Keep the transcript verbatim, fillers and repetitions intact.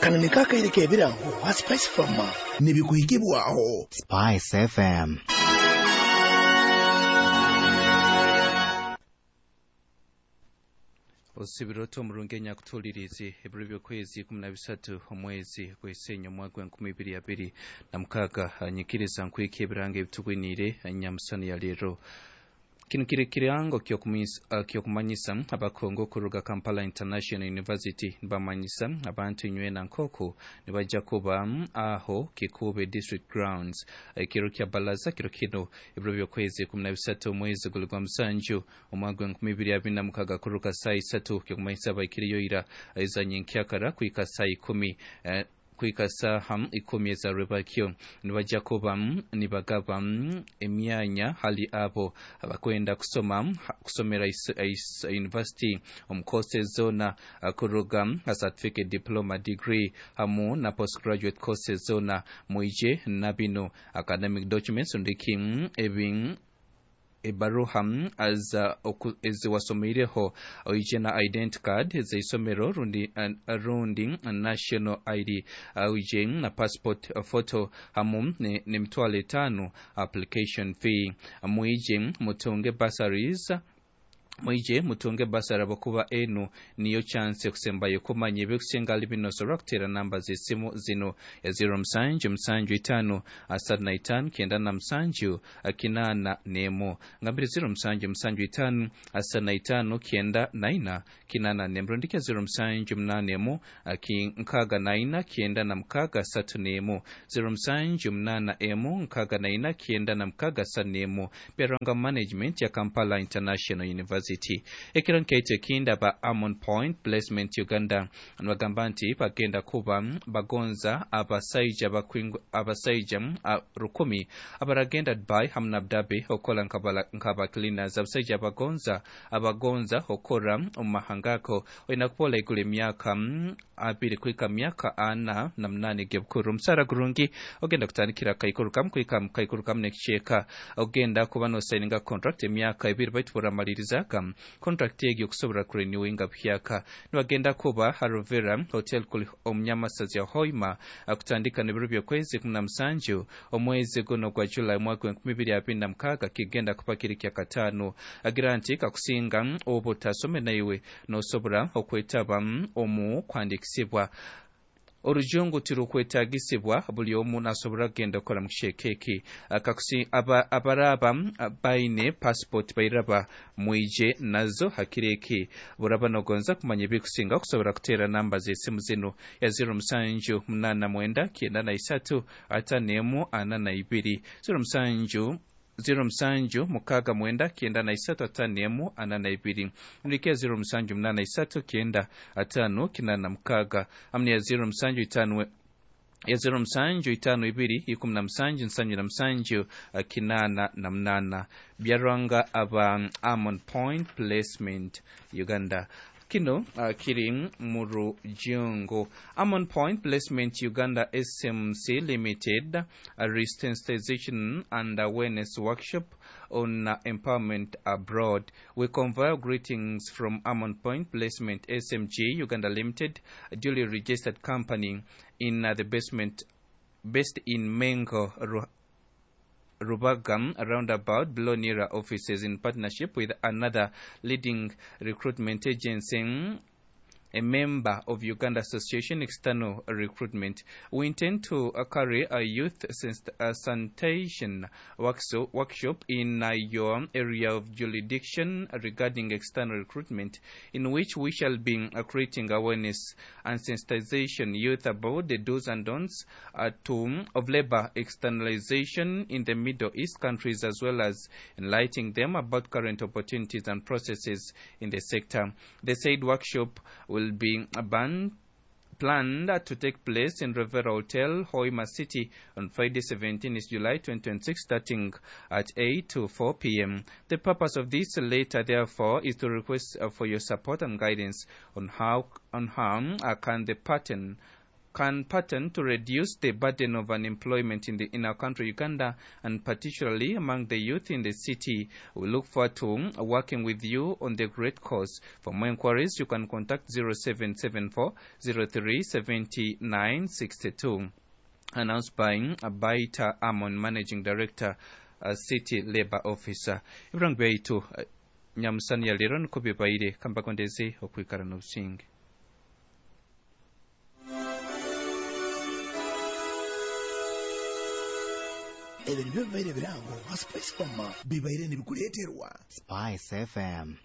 Kano niko akaire k'ebirango ha Spice Farmer nibikuhikibwaho Spice F M. Osibiro omurungi enyakutuulirizi ebiro by'okwezi ikumi na bisatu omwezi gw'Esenya omwaka gw'enkumi ibiri abiri na mukaaga. Nyikiriza nkwika ebiranga ebitugwiniire nyamusana ya leero. Kino kiri kirango kyokumanyisa abakongo okuruga Kampala International University. Nibamanyisa abantu inywena nk'oku nibajja kuba aho Kikuube District Grounds ekiro kya balaza kiro kino ebiro by'okwezi ikumi na bisatu omwezi guli gwa musanju omwaka gw'enkumi ibiri abiri na mukaaga kuruka saa isatu. Kyokumanyisa abaikiriyo ira ezanye nkyakara kwika saa ikumi eh, kwika saaha ikumi ezarwebakyo. Nibajja kuba nibagaba emyanya hali abo abakwenda kusoma kusomera university omu courses zona, kuruga ha certificate, diploma, degree hamu na postgraduate courses zona. Mwije na bino: academic documents, ndiki ebi ebaruha eziwasomeireho, oije na identity card zeisomero rundi, rundi national I D, oije na passport photo hamu n'emitwalo etaano application fee. Mwije mutunge bursaries, mwije mutunge bursary abakuba enu niyo chance ekusembayo. Kumanya ebikusinga ali bino osobola kuteera namba z'essimu zino: ya zero musanju musanju itaano asatu na itaano kyenda na musanju kinaana n'emu. Ngambire zero musanju musanju itaano asatu na itaano kyenda na ina kinaana n'emu, rundiki ya zero musanju munaana emu nkaaga na ina kyenda na mukaaga asatu n'emu, zero musanju munaana emu nkaaga na ina kyenda na mukaaga asatu n'emu. Byarwanga Management ya Kampala International University. Ekiro nkaityo ekindi, aba Amon Point Placement Uganda nibagamba nti bagenda kuba bagonza abasaija abasaija rukumi abaragenda Dubai hamu na Abu Dhabi okukola nk'aba cleaners. Abasaija abagonza abagonza okukora omu mahanga ago olina kuba olaigula emyaka abiri kwika myaka ana na munana gebukuru. Omusaara gurungi ogenda kutandikira kaikuru kamu kwika kaikuru kamu n'ekicweka. Ogenda kuba nosayininga contract emyaka ebiri, baitu buramalirizaga contract egyo okusobola kurenewinga buhyaka. Nibagenda kuba Harovera Hotel kuli omunyamasazi ya Hoima kutandika n'ebiro by'okwezi ikumi na musanju omwezi guno gwa July omwaka gw'enkumi ibiri abiri na mukaaga. Kigenda kuba kiri kya kataano. Agira nti kakusinga oba otasome naiwe nosobora okwetaba omu kwandikisibwa. Orujungu tirukwetagisibwa, buli omu nasobora kugenda okukora mu kicweka eki. Abaraba baine passport bairaba mwije nazo hakiro eki. Buraba nogonza kumanya ebikusinga okusobora kuteera namba z'esimu zino: ya zero musanju munaana mwenda kyenda na isatu ataano emu ana na ibiri, zero musanju zero musanju mukaaga mwenda kyenda na isatu ataano emu ana na ibiri, nrikia zero musanju munaana isatu kyenda ataano kinaana na mukaaga, hamu neya zero musanju itaano ya zero musanju itaano ibiri ikumi na musanju nsanju na musanju kinaana na munaana. Byarwanga aba Amon Point Placement Uganda. Kino uh, kiri mu rujungu. Amon Point Placement Uganda S M C Limited, a resensitization and awareness workshop on uh, empowerment abroad. We convey greetings from Amon Point Placement S M G Uganda Limited, a duly registered company in uh, the basement based in Mengo, Rubagam roundabout below Nira offices, in partnership with another leading recruitment agency, a member of Uganda Association External Recruitment. We intend to uh, carry a youth uh, sanitation workshop in uh, your area of jurisdiction regarding external recruitment, in which we shall be uh, creating awareness and sensitization youth about the do's and don'ts uh, to, of labor externalization in the Middle East countries, as well as enlightening them about current opportunities and processes in the sector. The said workshop will be banned planned to take place in Rivera Hotel, Hoima City on Friday seventeenth July twenty twenty-six, starting at eight to four p m. The purpose of this letter, therefore, is to request for your support and guidance on how, on how uh, can the pattern can pattern to reduce the burden of unemployment in the in our country, Uganda, and particularly among the youth in the city. We look forward to working with you on the great cause. For more inquiries, you can contact zero seven seven four zero three seventy nine sixty two. Announced by Baita Amon, Managing Director, uh, City Labor Officer. Ibrangu byaitu uh, nyamusani ya lero niko bibaire kambakondeze okwikara n'obusinge. Ebyo nibyo bibaire birango nka Spice Mama bibaire nibikuleeterwa Spice F M.